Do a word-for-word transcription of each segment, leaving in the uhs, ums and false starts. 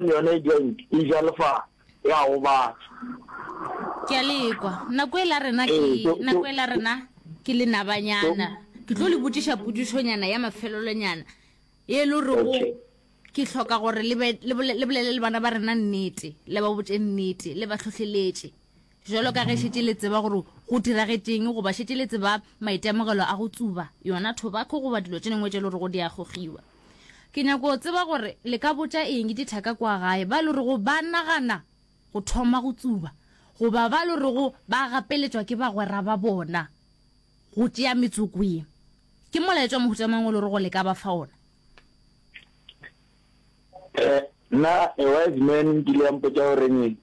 Yona e joint e ja lefase, ya gobatša. Ke a le kwa. Nako e la rena ke, Ee, so, so, nako e la rena ke lenabanyana. so, Ke tlo le botšiša potšišonyana ya mafelelonyana ye e le gorego okay. ke hloka gore le be, le bole, le bolele le bana ba rena nnete, le ba botše nnete, le ba hlohleletše. Jwalo ka ge šetše le tseba gore go diragetšeng goba šetše le tseba maitemogelo a go tsuba yona tobacco goba dilo tše dingwe tše le gorego di a gogiwa. Ke nyako go tseba gore le ka botša eng dithaka kua gae ba le rego ba nagana go thoma go tsuba goba ba le rego ba gapeletšwa ke bagwera ba bona go tšea metsoko ye. Ke molaetša wa mohuta mang o le rego le ka ba fa ona? Eh, nna a wise man nkile ya mpotša goreng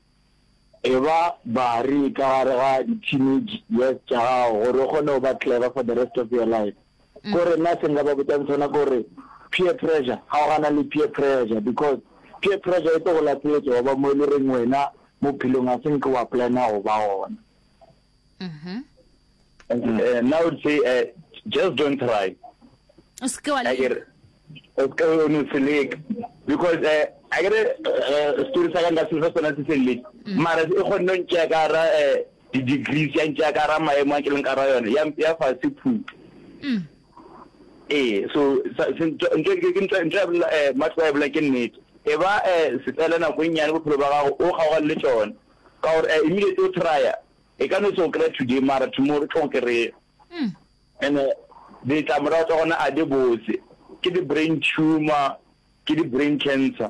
e ba bari ka gare ga di-teenage years tša gago gore o kgone go ba clever for the rest of your life. Kore nna se nka ba botšang sona ke gore peer pressure, kgaogana le peer pressure because peer pressure e tlo go lahletša wa ba mo e le goreng wena bophelong ga se nke wa plana go ba gona. Uh, now I would say uh, just don't try. O se ke wa A leka. ke re o se o no se leka because uh, a ke re uh, story sa ka nka se fa sona se feleletse mara e kgonne go ntšea ka gara uh, di-degrees ya ntšea ka gara maemo a ke leng ka gara yone ya ya fase phuka. Ee, so sa- se- ntho ntho- ke- ke ntho ntho ya bolela eh, Matlo a e bolela ke nnete. E ba eh, setsela nako e nnyane bophelo ba gago o kgaogane le tšona ka gore eh, immediately o trya e ka no se go kry-a today mara tomorrow e tlo go kry-a. And eh, ditlamorago tša gona a di botse, ke di-brain tumor, ke di-brain cancer,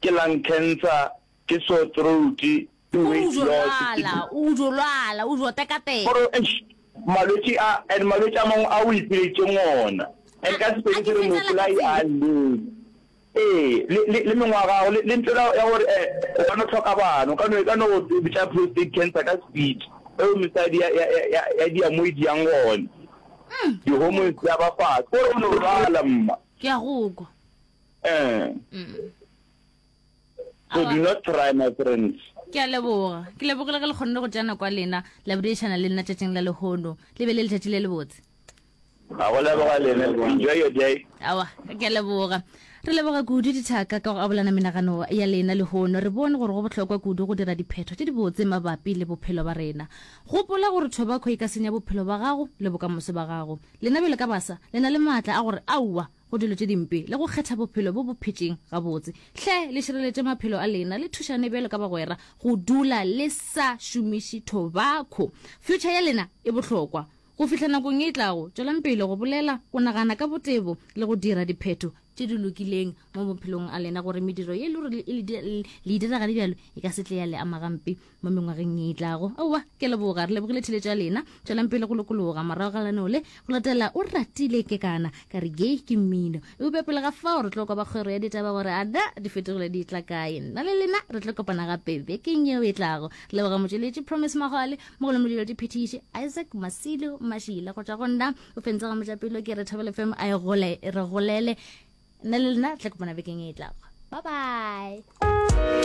ke lung cancer, ke sore throat, ke O weight jo loss, ke lwala, o jo lwala, o jo tekateka. Gore eish malwetši a and malwetši a mangwe a o ipileditšeng ona and ka A Sepedi ke se re fetela ka mopolai tsela. a llele. Ee, le le le mengwaga ya gago le le ntho ela ya gore eh o ka no hloka bana, o ka no e ka no go bitša prostate cancer ka speed eo mesadi ya ya ya ya dia mo e diang gona. Di-hormones di a ba fase, kore o no lwala mma. Ke a go kwa. Eh. So do not try my friends. Ke a leboga. Ke lebogile ge le kgonne go tšea nako ya lena la boledišana le nna tšatšing la lehono. Le be le letšatši le lebotse. A go leboga lena. Enjoy your day. Aowa, ke a leboga. Re leboga kudu dithaka ka go abolana menagano ya lena lehono. Re bone gore go bohlokwa kudu go dira diphetho tše dibotse mabapi le bophelo ba rena. Gopola gore tobacco e ka senya bophelo ba gago le bokamoso ba gago. Lena bjalo ka basa, le na le maatla a gore aowa go dilo tše dimpe le go kgetha bophelo bo bo phetšeng gabotse. Hle le šireletše maphelo a lena, le thušane bjalo ka bagwera go dula le sa šomiše tobacco. Future ya lena e bohlokwa. Go fihla nakong ye e tlago, tšwelang pele go bolela, go nagana ka botebo le go dira diphetho tše di lokileng mo maphelong a lena gore mediro ye e le gore le le e dira gane bjalo e ka se tle ya le ama gampe mo mengwageng ye e tlago. Aowa, ke a leboga. Re lebogile theletšo ya lena. Tšwelang pele go lokologa. Morago ga lenaneo le go latela o ratile kekana ka re gay ke mmino. Eupša pele ga fao re tlo kwa ba kgwero ya ditaba gore a na di fetogile di tla kae. Nna le lena re tlo kopana gape bekeng yeo e tlago. Re leboga motšweletši Promise Magwale, mogolo modiro diphethiši Isaac Masilo Mashila. Go tšwa go nna o fentse ga mojapelo ke re Thobela F M a e gole re golele. Nna le lena re tla kopana bekeng e tlago. Bye bye.